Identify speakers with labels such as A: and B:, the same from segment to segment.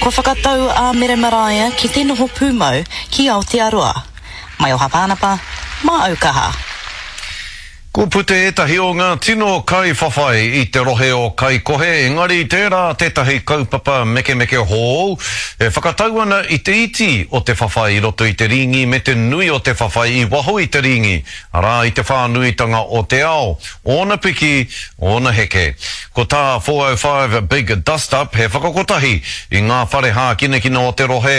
A: Kua whakatau a Mere Maraea ki te noho pūmau ki Aotearoa. Maioha Pānapa, Māaukaha.
B: Kua puta ētahi o ngā tino kaiwhawhai i te rohe o Kaikohe, engari tērā tētahi kaupapa mekemeke hōu e whakatau ana i te iti o te whawhai i roto i te rīngi me te nui o te whawhai i waho i te rīngi, arā i te whānuitanga o te ao, ōna piki, ōna heke. Ko tā 405 Big Dust Up he whakakotahi i ngā whare hākinakina o te rohe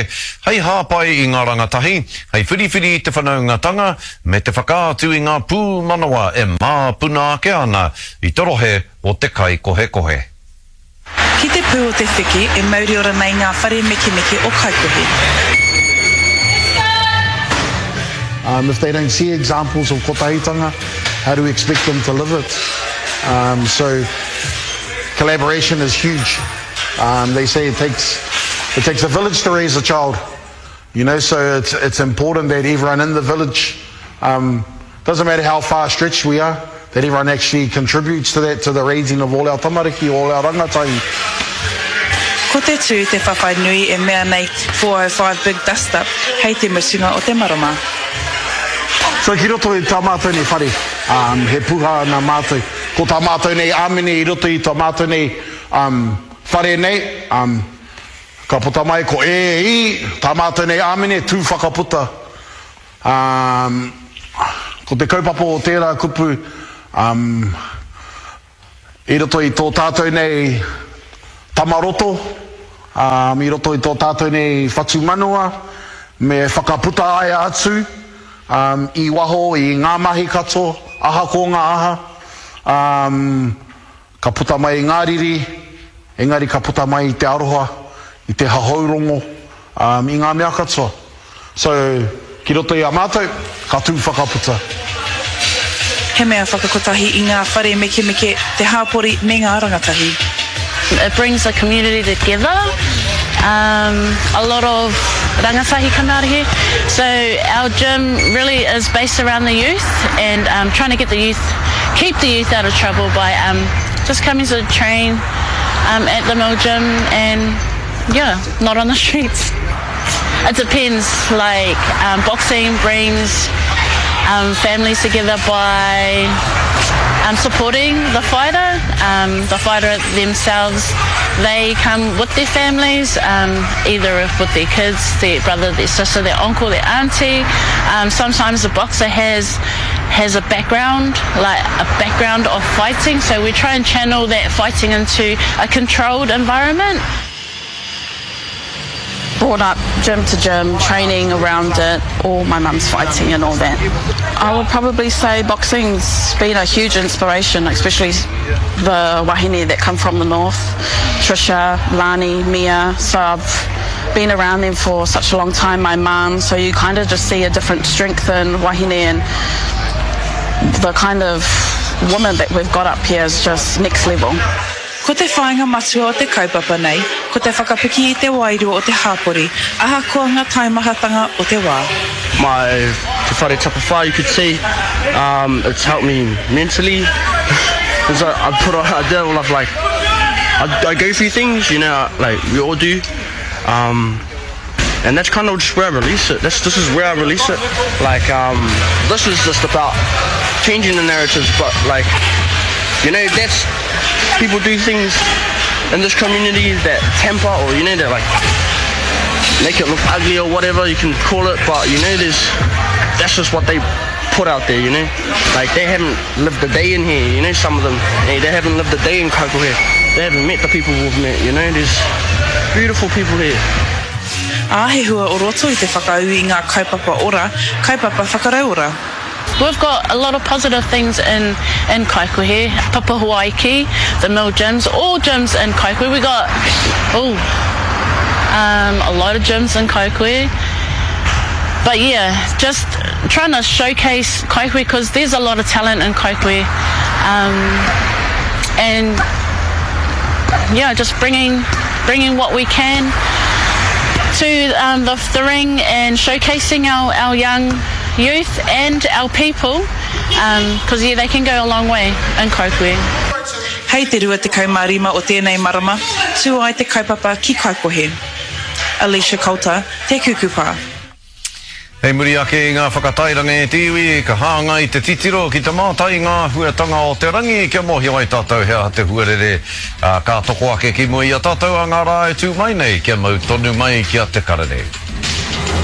B: hei hāpai i ngā rangatahi, hei whiriwhiri i te whanaungatanga me te whakaatu i ngā pūmanawa e māpuna ake ana i te rohe o te kaikohekohe.
C: Ki te pū o te wheke e mauriora nei ngā whare mekemeke o Kaikohe.
D: Um, if they don't see examples of kotahitanga, how do we expect them to live it? Um, so collaboration is huge. Um, they say it takes, it takes a village to raise a child. You know, so it's, it's important that everyone in the village, um, doesn't matter how far stretched we are, that everyone actually contributes to that, to the raising of all our tamariki, all our rangatahi.
C: Ko te tū te whawhai nui e mea nei 405 Big Dust Up hei te mutunga o te marama.
D: So ki roto i tā mātou nei whare, um, he puha nā mātou. Ko tā mātou nei āmine i roto i tā mātou nei um, whare nei, um, Ka puta mai ko E, I, tā mātou nei āmine, tū whakaputa. Ā, ko te kaupapa o tērā kupu, ā, i roto i tō tātou nei tamaroto, ā, i roto i tō tātou nei whatumanawa, me whakaputa ai atu, ā, i waho i ngā mahi katoa, ahakoa ngā aha, ā, Ka puta mai i ngā riri, engari ka puta mai i te aroha, i te hahourongo, um, i ngā mea katoa. So, ki roto i a mātou, ka tū whakaputa.
C: He mea whakakotahi i ngā whare mekemeke, te hāpori me ngā rangatahi.
E: It brings the community together, um, a lot of rangatahi come out of here, so our gym really is based around the youth and um, trying to get the youth keep the youth out of trouble by um, just coming to train um, at the mill gym and yeah, not on the streets. It depends, like um, boxing brings um, families together by um, supporting the fighter. Um, the fighter themselves, they come with their families, um, either with their kids, their brother, their sister, their uncle, their auntie. Um, sometimes the boxer has has a background, like a background of fighting, so we try and channel that fighting into a controlled environment.
F: Brought up gym to gym, training around it, all my mum's fighting and all that. I would probably say boxing's been a huge inspiration, especially the wahine that come from the north, Trisha, Lani, Mia, so I've been around them for such a long time, my mum, so you kind of just see a different strength in wahine and the kind of woman that we've got up here is just next level.
C: Ko te whāinga matua o te kaupapa nei, ko te whakapiki i te wairua o te hāpori, ahakoa ngā taimahatanga o te wā.
G: My Te Whare Tapa Whā, you could say, um, it's helped me mentally. Because I, I put on, I did all of like, I, I go through things, you know, like we all do. Um, and that's kind of just where I release it. That's, this is where I release it. Like, um, this is just about changing the narratives, but like, you know, that's, people do things in this community that temper or, you know, that like, make it look ugly or whatever you can call it, but you know, there's, that's just what they put out there, you know. Like they haven't lived a day in here, you know, some of them. Hey, they haven't lived a day in Kaikohe. They haven't met the people we've met, you know. There's beautiful people here.
C: Ā, he hua o roto i te whakaū i ngā kaupapa ora, kaupapa whakarauora.
E: We've got a lot of positive things in in Kaikohe, Papahuaiki, the mill gyms, all gyms in Kaikohe. We got oh, um, a lot of gyms in Kaikohe. But yeah, just trying to showcase Kaikohe because there's a lot of talent in Kaikohe. Um, and yeah, just bringing bringing what we can to um, the, the ring and showcasing our, our young youth and our people because um, yeah, they can go a long way in Kaikohe.
C: Hei te 25 o tēnei marama, tū ai te kaupapa ki Kaikohe. Alicia Coulter, Te Kukupa.
B: Hei muri ake i ngā whakatairanga e te iwi, ka hāngai te titiro ki te mātai i ngā āhuatanga o te rangi kia mōhio ai tātou he aha te huarere, ā, ka toko ake ki mua i a tātou ā ngā rā e tū mai nei kia mau tonu mai ki a Te Karere.